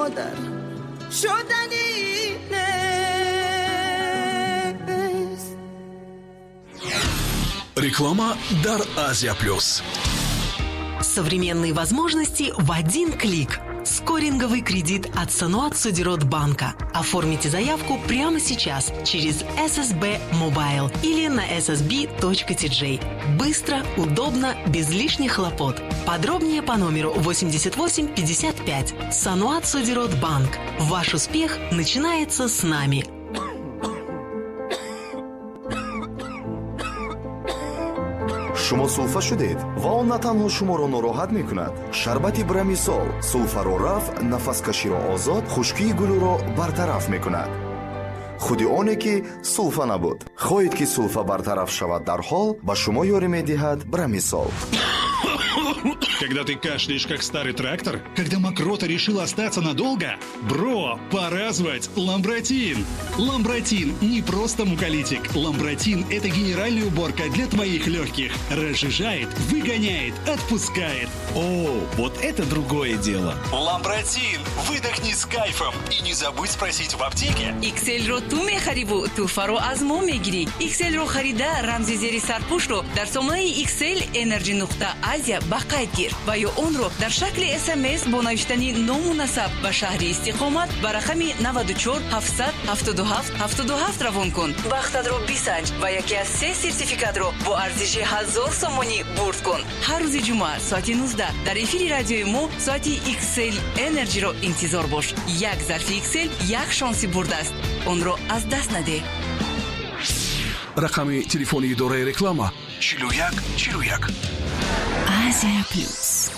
Модар шудани нест. Реклама дар Азия Плюс. Современные возможности в один клик. Скоринговый кредит от Саноат Содирот Банка. Оформите заявку прямо сейчас через SSB Mobile или на ssb.tj. Быстро, удобно, без лишних хлопот. Подробнее по номеру 88 55. Саноат Содирот Банк. Ваш успех начинается с нами. Шумо сулфа шудед ва он на танҳо шуморо нороҳат мекунад. Шарбати Брамисол сулфаро рафъ, нафаскаширо озод, хушкии гулӯро бартараф мекунад. Худи оне ки сулфа набуд. Хоҳед, ки сулфа бартараф шавад дарҳол, ба шумо ёрӣ медиҳад Брамисол. Когда ты кашляешь, как старый трактор, когда мокрота решила остаться надолго, бро, пора звать Ламбратин. Ламбратин не просто муколитик. Ламбратин – это генеральная уборка для твоих легких. Разжижает, выгоняет, отпускает. О, вот это другое дело. Ламбратин, выдохни с кайфом и не забудь спросить в аптеке. XL-ро ту мехариву, туҳфаро аз мо мегирӣ. XL-ро харида, рамзи зери сарпӯшро дар сомонаи XL Energy нуқта Азия ба қайд гир ва ё онро дар шакли СМС бо навиштани ному насаб ба шаҳри истиқомат ба рақами 94 777 77 равон кун. Бахтатро бисанҷ ва яке аз се сертификатро бо арзиши 1000 сомонӣ бурд кун. Ҳар рӯзи ҷумъа соати 19 дар эфири радиои мо соати XL Energy-ро интизор бош. Як зарфи XL як шонси бурд аст, онро аз даст надеҳ. Рақами телефони идораи реклама: 41 41. Азия Плюс.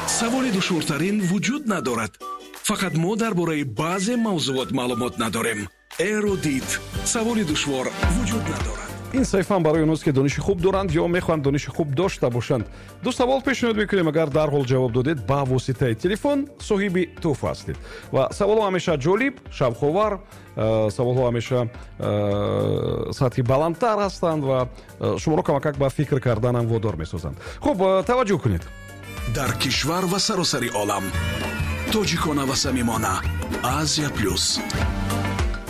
Саволи душвортарин вуҷуд надорад, фақат мо дар бораи баъзе мавзуот маълумот надорем. Эрудит, саволи душвор вуҷуд надорад. Ин саҳифаам барои онҳост, ки дониши хуб доранд ё мехоҳанд дониши хуб дошта бошанд. Ду савол пешниҳод мекунем, агар дарҳол ҷавоб додед ба воситаи телефон, соҳиби тӯҳфа ҳастед. Ва саволҳо ҳамеша ҷолиб, шавқовар, саволҳо ҳамеша сатҳи баландтар ҳастанд ва шуморо камакак ба фикр карданам водор месозанд. Хуб, таваҷҷӯҳ кунед. Дар кишвар ва саросари олам, тоҷикона ва самимона, Азия Плюс.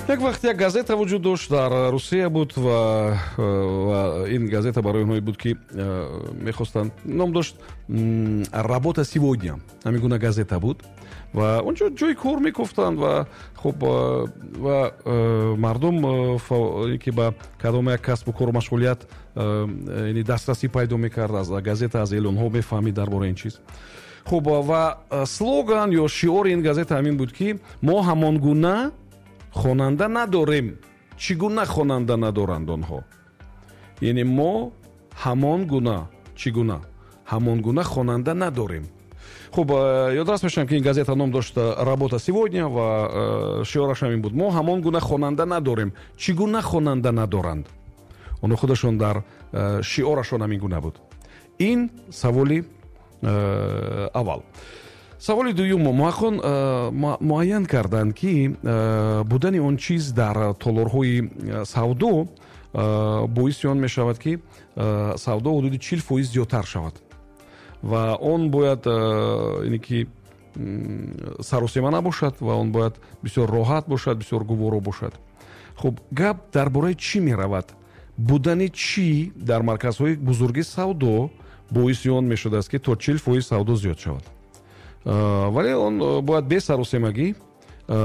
Як вақт як газета вуҷуд дошт, дар Русия буд, ва ин газета барои онҳое буд, ки мехостанд, ном дошт «Работа сегодня», ҳамин гуна газета буд ва онҷо ҷои кор мекуфтанд. Ва хуб, ва мардум, ки ба кадом як касбу кору машғулият яъне дастрасӣ пайдо мекард, аз газета, аз эълонҳо мефаҳмид дар бораи ин чиз. Хуб, ва слоган ё шиори ин газета ҳамин буд, ки мо ҳамон гуна хонанда надорем, чӣ гуна хонанда надоранд онҳо. Яъне мо ҳамон гуна, чӣ гуна ҳамон гуна хонанда надорем. Хуб, ёдрас мешавам, ки ин газета ном дошт «Работа сегодня» ва шиораш ҳамин буд: мо ҳамон гуна хонанда надорем, чӣ гуна хонанда надоранд онҳо. Худашон дар шиорашон ҳамин гуна буд. Ин саволи аввал. Саволи дуюм: муҳаққиқон муайян карданд, ки будани он чиз дар толорҳои савдо боиси он мешавад, ки савдо ҳудуди 40% зиёдтар шавад. Ва он бояд ине ки саросема набошад ва он бояд бисёр роҳат бошад, бисёр гуворо бошад. Хуб, гап дар бораи чӣ меравад? Будани чӣ дар марказҳои бузурги савдо боиси он мешудааст, ки то 40% савдо зиёд шавад, вале он бояд бесаросемагӣ.